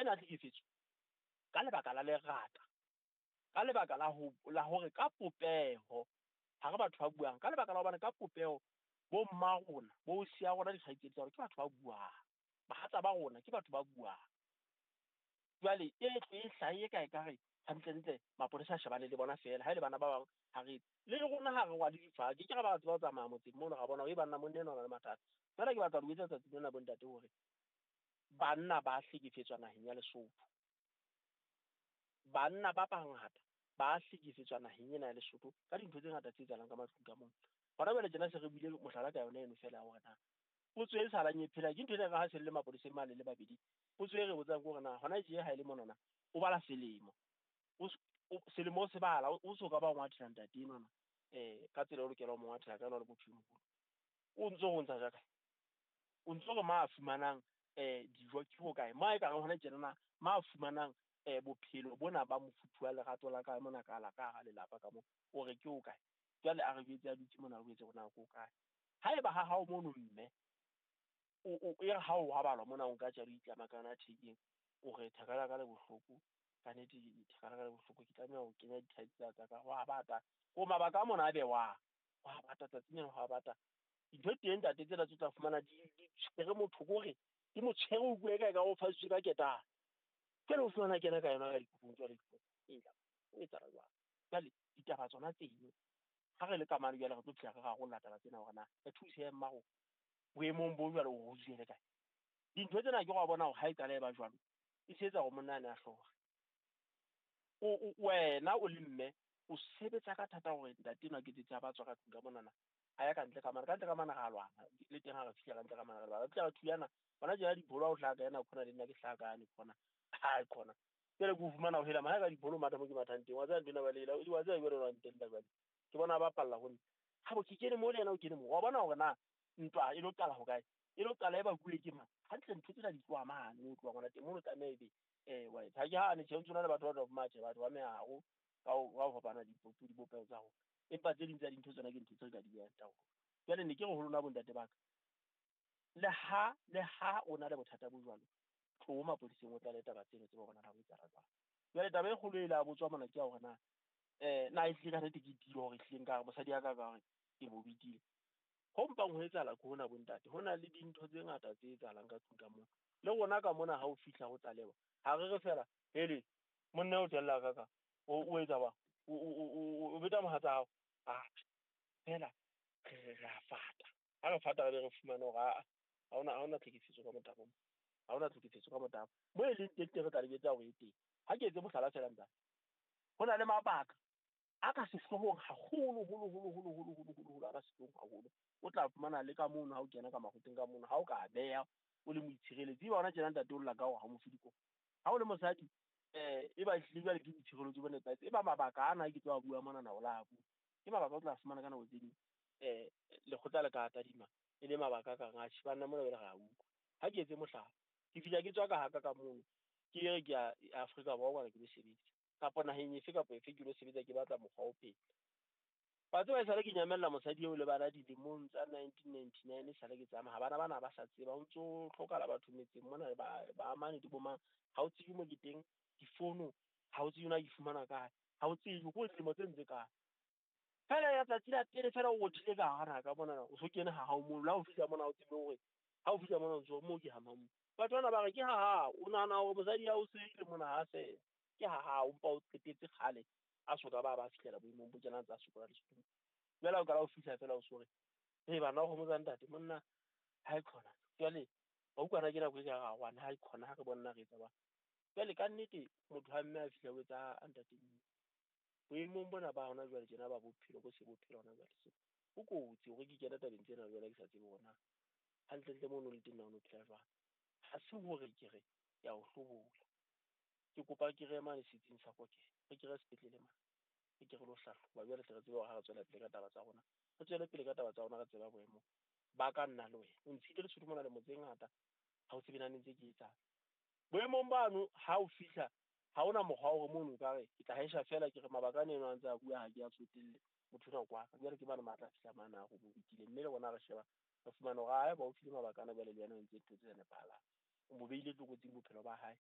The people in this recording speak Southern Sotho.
ena ya tlhekefetso ka lebaka la lerata, ka lebaka la ho la hore ka popeho ha re batho ba buang, ka lebaka la hobane ka popeho bo mma rona, bo siya rona dikgaitsedi tsa rona ke batho ba buang. Bahatsa ba rona ke batho ba buang. Jwale e tle e hlahe ka ekare hantlentle mapolesa a shebane le bona feela, ha e le bana ba bang ha re le rona ha re rwale difaha ke ke ra ba tseba ho tsamaya motseng mono ra bona hore banna monna enwa o na le mathata. Jwale ke batla ho le jwetsa tsatsing lena bo ntate hore banna ba hlekefetswa naheng ya Lesotho. Banna ba bangata ba hlekefetswa naheng ena ya Lesotho ka dintho tse ngata tse etsahalang ka matlung ka mona. Hona jwale tjena se re buile mohlala ka yona eno feela ya hore na potso e salang e phela ke ntho ena ha se le mapoleseng mane le babedi. Potso e re botsang ke hore na hona tje ha e le monana o bala selemo, o selemo o se bala o so ka ba o ngwathela ntate enwana ka tsela o lokela ho mo ngwathela ka yona o le motho e moholo. O ntso o ntsha jaka, o ntso re ma fumanang dijo ke hokae? Ma e ka reng hona tjenana ma fumanang bophelo bona ba mofuthu wa lerato la ka mona ka la ka hara lelapa ka mo, o re ke hokae? Jwale a re jwetse a dutse mona, re jwetse hore na ke hokae. Haeba ha hao mono mme o e re ha o robalwa mona o nka tjalo itlama ka yona thekeng, o re thaka la ka le bohloko, ka nnete thaka la ka le bohloko, ke tlameha ho kenya di-tight tsa ka, ho a bata. Ko mabaka a mona a bewang, ho a bata tsatsing lena ho a bata. Dintho teng ntate tsena tse o tla fumana di tshwere motho kore di mo tshwere o utlwe eka ekare o fasitswe ka ketane. Jwale o fumana kena ka yona ka dikobong jwale ela o etsahala jwang? Jwale ditaba tsona tseno ha re le ka mane jwale re tlo fihla re rarolla taba tsena hore na re thuse mma rona boemong bo jwalo o ho kae. Dintho tsena ke wa bona hore ha e qala e ba jwalo, e se etsa hore monna ane a hlore. O wena o le mme o sebetsa ka thata hore ntate enwa ke tsetse a ba tswa ka tlung ka monana, a ya kantle ka mane, ka ntle ka mane ra lwana le teng ha re fihla ka ntle ka mane re lwana, re fihla re thulana hona tjena dibolo ha o hlaha ka ena khona le nna ke hlaha ka yane khona, ha khona. Jwale ke o fumana ho hela ka dibolo matha mo ke mathang teng, wa tseba ntho ena ba lela, wa tseba jwale wa ntella jwale. Ke bona ba palla ho nna. Ha bo ke kene mo le yena o kene mo, wa bona hore na ntwa e lo qala hokae? E lo qala e bakuwe ke mang? Hantle ntho tsena di tloha mane mo tlohang hona teng, mono tlameha ebe wa etsa. Ha ke hane tjhe, ho ntsona le batho ba tla matjhe, batho ba meharo ka ho fapana dipopeho tsa rona. Empa tse ding tsa dintho tsona ke ntho tse re ka di behang taolong. Jwale ne ke re ho lona bontate ba ka, le ha o na le bothata bo jwalo, tloho mapoleseng o tlale taba tseno tsebe hore na ho etsahala jwang. Jwale taba e kgolo e la botswa mona ke ya hore na na ehlile ka nnete ke tiile hore ehlile nka re mosadi ya ka ka hore ke mo betile. Ho mpang ho etsahala ke hona bontate, ho na le dintho tse ngata tse etsahalang ka tlung ka mona. Le rona ka mona ha o fihla ho tlalewa, ha re re fela hele monna o tella ka ka o etsa bang, o beta mohatsa hao, atjhe fela re a fata. Ha re fata re be re fumane hore ha hona tlhekefetso ka motabo, ha hona tlhekefetso ka motabo. Mo e leng teng teng re tla le jwetsa hore e teng. Ha ke etse mohlala feela ntate, ho na le mabaka a ka sehloohong haholo holo holo holo holo holo holo holo, a ka sehloohong haholo. O tla fumana le ka mono ha o kena ka makgotleng ka mono, ha o ka beha o le moitshireletsi, eba hona tjena ntate o lla ka hore ha o mo fe dikopo. Ha o le mosadi e ba ehlile jwale ke boitshireletso bo nepahetse, e ba mabaka ana ke tlo a bua monana o la bua. Ke mabaka o tla fumana ka nako tse ding lekgotla le ka tadima e le mabaka a kang atjhe banna mona jwale re a utlwa. Ha ke etse mohlala, ke fihla ke tswa ka haka ka mono, ke re ke ya Afrika Borwa kwana ke lo sebetsa, kapa naheng efe kapa efe ke lo sebetsa, ke batla mokgwa o phela. Wa tseba esale ke nyamella mosadi eo le bana dilemong tsa 1999 esale ke tsamaya, bana bana ba sa tseba, ho ntso hlokahala batho metseng mona ba amane di bomang, ha o tsebe mo ke teng, difono ha o tsebe na ke fumana kae, ha o tsebe ko dilemo tse ntse kae. Fela ya tsatsi la pele fela o rothile ka hara naha ka mona, o so kene ha hao mono, le ha o fihla mona o tsebe hore ha o fihla mona o ntso mo ke ha mang. Batho bana ba re ke ha hao, o nahana hore mosadi ya o seile mona ha se ke ha hao, empa o qetetse kgale a soka ba fihlela boemong bo tjena ntse a sokola Lesotho. Jwale ha o qala ho fihla fela o so re hei bana o kgomotsa ntate monna ha e khona. Jwale wa utlwa ke nako e ka re ngwana ha e khona ha re bona re etsa jwang. Jwale ka nnete motho ha mme a fihla o etsa a ntate boemong bona ba hona jwale tjena ba bophelo bo se bophelo hona jwale so ho kotsi hore ke kena tabeng tsena jwale ke sa tsebe hore na hantlentle mono le teng na o no phela jwang. Ha se hore ke re ke a o hlobola, ke kopa ke re mane setsing sa kokelo, re ke re sepetlele mane, re ke re lo hlahloba jwale tle re tsebe hore ha re tswela pele ka taba tsa rona, re tswele pele ka taba tsa rona, re tseba boemo ba ka nna le wena. O ntshitse Lesotho mona lemo tse ngata, ha o tsebe na ne ntse ke etsang. Boemong bano ha o fihla ha hona mokgwa wa hore mono o ka re ke tla hesha fela ke re mabaka a eno a ntse a bua ha ke a tsotelle motho ona kwa ka. Jwale ke bana matla a fihla mane a re bo betile, mme le rona re sheba re fumana hore haeba o file mabaka ana jwale le yena o entse ntho tse sa nepahalang, o mo behile tlokotsing bophelo ba hae.